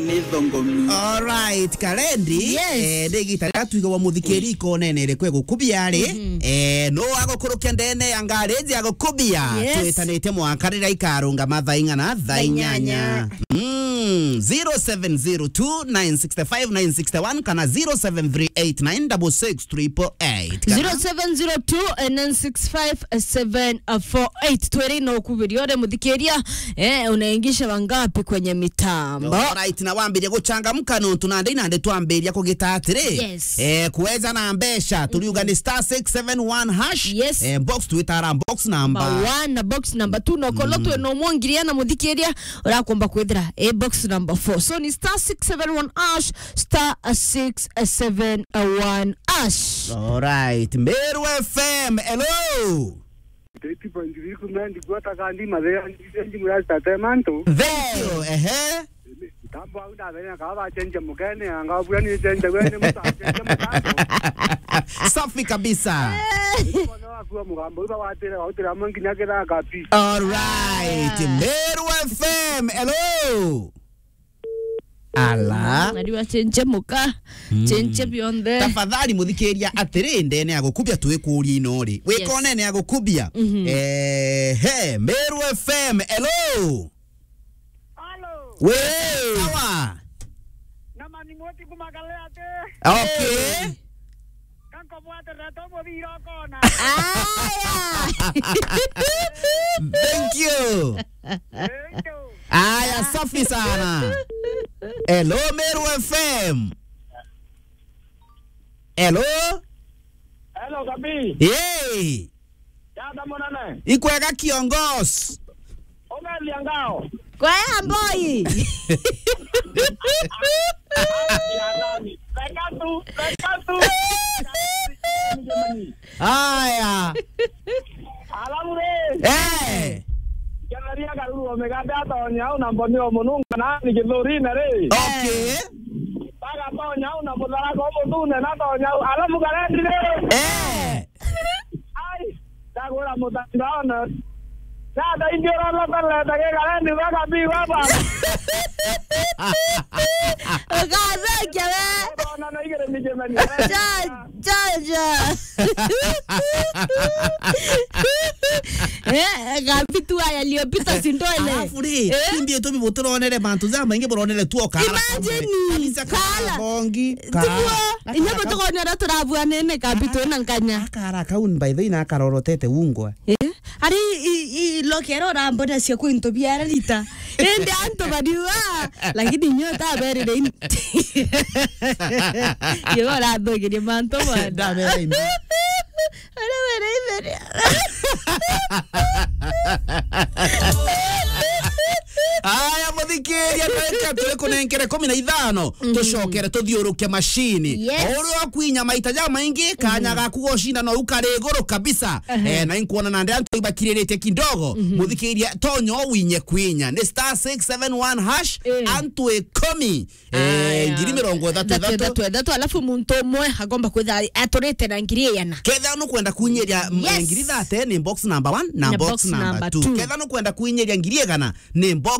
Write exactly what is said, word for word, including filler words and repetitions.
Ni thongomi. Alright, Karendi. Yes. Eh, ndigita riria twigawa muthikiri ikonene iriku egukubia ri? Mhm. Eh, no agukuruke ndene ya ngari iji agukubia? Yes. Twitanite mwaka riria ikarungama thaa ing'ana? Thaa inyanya. Thaa inyanya. Mm, zero seven zero two nine six five nine six one kana zero seven three eight nine double six triple eight. Kana zero seven zero two nine six five seven four eight. Twere no kubiria ore muthikiria, eh, unaingisha wangapi kwenye mitambo? Alright, na wambirie guchangamka nontu nandi nandi twambiria kugita atiri. Yes. Eh, kuweza na mbeca, turiuga ni star six seven one hash. Yes. Eh, box twitara box number. Number one na box number two, no kolo twe no mwongiria na muthikiria, urakomba kwithira e box number four. So ni star six seven one hash, star six seven one hash. Alright, Meru F M, hello. Teti point three kumandi gwata kandi mathea ndize ndimu ya state mantu. Thank you, ehe. Tambo au ndathenya kaba chenje mugene, anga bua ni chenje wene muta chenje mutambo. Safi kabisa. Kono akuwa mugambo uba watire, utire amwe nginya kithaka pi. Alright, Meru F M, hello. Ala. Nari wa chenje muka, chenje bionthe. Tafadhali muthikiria atiri, ndene ya gukubia twikuria ino ri. Yes. Wikone ne ya gukubia. Mhm. Eh, he, Meru F M, hello. Hello. We, sawa. Na mani moti kumakale ate. Okay. Kanko bwate reto mubira okona. Aya. Thank you. Thank you. Aya, safi sana. Hello, Meru F M. Hello? Hello, Kabi. Hey. Yada munene. Ikwega kiongozi. Umelia ngao. Kwea mboi. Reka tu, reka tu. Aya. Alafu ri. Eh. Ngereria karuru o migate atonya au na mboni o mununga na ni githurine ri. Okay. Bagatonya au na mutharaka o muthune na atonya au. Alafu Karendi ri. Eh. Ai, ndagwira mutandaone. Nada indio rona taleta ke Karendi baka bi baba. Ukatheke we. Ona na igere ni jemani. Ja, ja, ja. Eh, kabitu aya liopita sindwele. Alafu ri, eh? Timbi etu bibutironere bantu ja maingi buronere tu okara. Imagine, kabisa, kara kala bongi, kara. Tiguo, inya butukonera turabuanene kabitu na nkanya. Akara kaun by the way na akarorotete ungwa. Eh? Ari i, i, lokero urambona cia kwintu biara rita. Indi antu bariua, lakini nyo taberire in-, yo urathugirie mantu mwana. Ndabera indi. Ara wera itheria. Aya, muthikiria, reka turi kunenkere kumi na ithano, tucokere tuthiuruke mashini. Yes. O uria wakwinya maita ja maingi, kanya gaku gocinda no ukari iguru kabisa. Eh, na inkuona nandi antu ibakiriritie kidogo. Muthikiria, tonya winye kwinya. Ni star six seven one hash, antu ikumi. Eh, aya, ngiri mirongo ithatu ithatu. Ithatu ithatu, alafu muntu umwe agomba kwitha aturite na ngiri igana. Ketha nukwenda kunyiria, mm, yes, ngiri thate, ni box number one na box number two. Ketha nukwenda kunyiria ngiri igana, ni box